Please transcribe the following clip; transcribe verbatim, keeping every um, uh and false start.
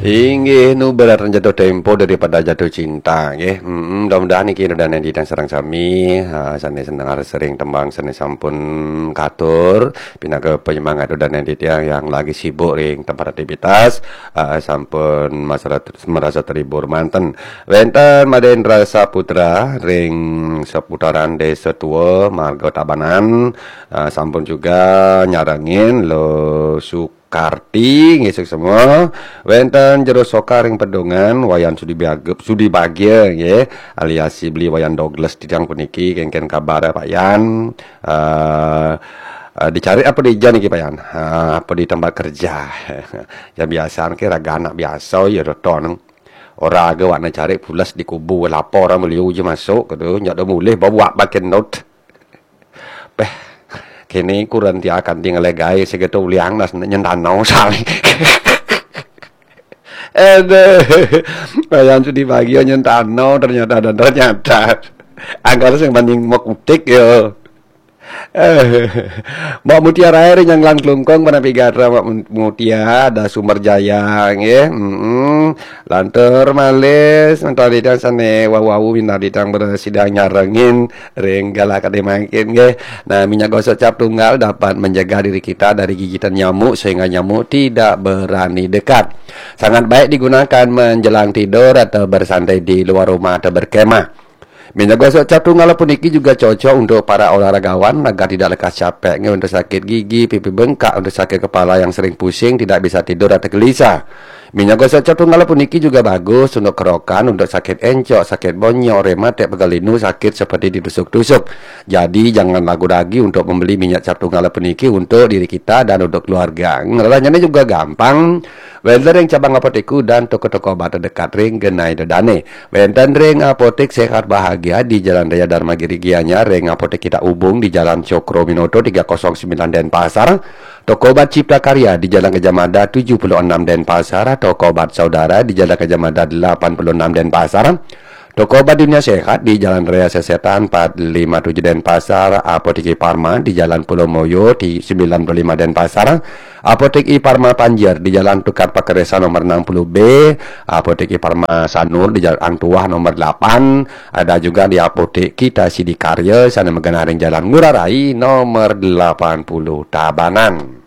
Inggih, nu berat jatuh tempo daripada jatuh cinta, nggih. Mm, mudah-mudahan niki ida dané titiang sareng sami, ah, sané seneng sering tembang sané sampun katur, pinaka penyemangat ida dané titiang yang lagi sibuk ring tempat aktivitas, ah, sampun masara-, merasa terhibur manten. Wénten Madé Indra Saputra ring seputaran Desa Tua, Marga Tabanan, ah, sampun juga nyarengin Lo Su Karti, nggih, suksma. Wénten Jero Soka ring Pedungan, Wayan Sudi Bagia, Sudi Bagia, nggih, alias si beli Wayan Douglas titiang puniki, kénkén kabar Pak Yan. Eh, eh, dicari apa di ija niki, Pak Yan? Eh, apa di tempat kerja? Ya biasa, niki raga anak biasa, ya, doton. Ora aga wak cari pules di kubu, lapor sama beliau aja masuk, gitu. Nyak do mulih, bawa wak bakin not. Peh, kini kuran tia kanti ngalih gaé, segitu uliang nas nyentano sali. Aduh, Wayan Sudi Bagia nyentano ternyata dan ternyata. Angkara sing banding mau kutik yo. Eh, Mbak Mutia Rair yang Langklungkung, Panapi Gatra, Mbak Mun-, Mutia, ada Sumber Jaya, nggih. Mm-mm. Lantur malih, nonton di sané wau-wau minta di bersidang nyarengin ring galakade mangkin, nggih. Nah, minyak gosok cap tunggal dapat menjaga diri kita dari gigitan nyamuk sehingga nyamuk tidak berani dekat. Sangat baik digunakan menjelang tidur atau bersantai di luar rumah atau berkemah. Minyak gosok cap tunggal puniki juga cocok untuk para olahragawan agar tidak lekas capek, nggih, untuk sakit gigi, pipi bengkak, untuk sakit kepala yang sering pusing, tidak bisa tidur atau gelisah. Minyak gosok cap tunggal puniki juga bagus untuk kerokan, untuk sakit encok, sakit bonyok, rematik, pegal linu, sakit seperti ditusuk-tusuk. Jadi, jangan ragu-ragu untuk membeli minyak cap tunggal puniki untuk diri kita dan untuk keluarga. Ngerasanya juga gampang. Wénten ring cabang apotek dan toko-toko obat terdekat ring genah ida dané. Wénten ring Apotek Sehat Bahagia di Jalan Raya Dharma Giri Gianyar, ring Apotek Kita Ubung di Jalan Cokroaminoto tiga kosong sembilan Denpasar, Toko Obat Cipta Karya di Jalan Gajah Mada tujuh puluh enam Denpasar, Toko Obat Saudara di Jalan Gajah Mada delapan puluh enam Denpasar, Toko Obat Dunia Sehat di Jalan Raya Sesetan empat lima tujuh Denpasar, Apotek Parma di Jalan Pulau Moyo di sembilan puluh lima Denpasar, Apotek Parma Panjer di Jalan Tukad Pakeresa nomor enam puluh B, Apotek Parma Sanur di Jalan Hang Tuah nomor delapan, ada juga di Apotek Kita Sidakarya sané magenah ring Jalan Ngurah Rai nomor delapan puluh Tabanan.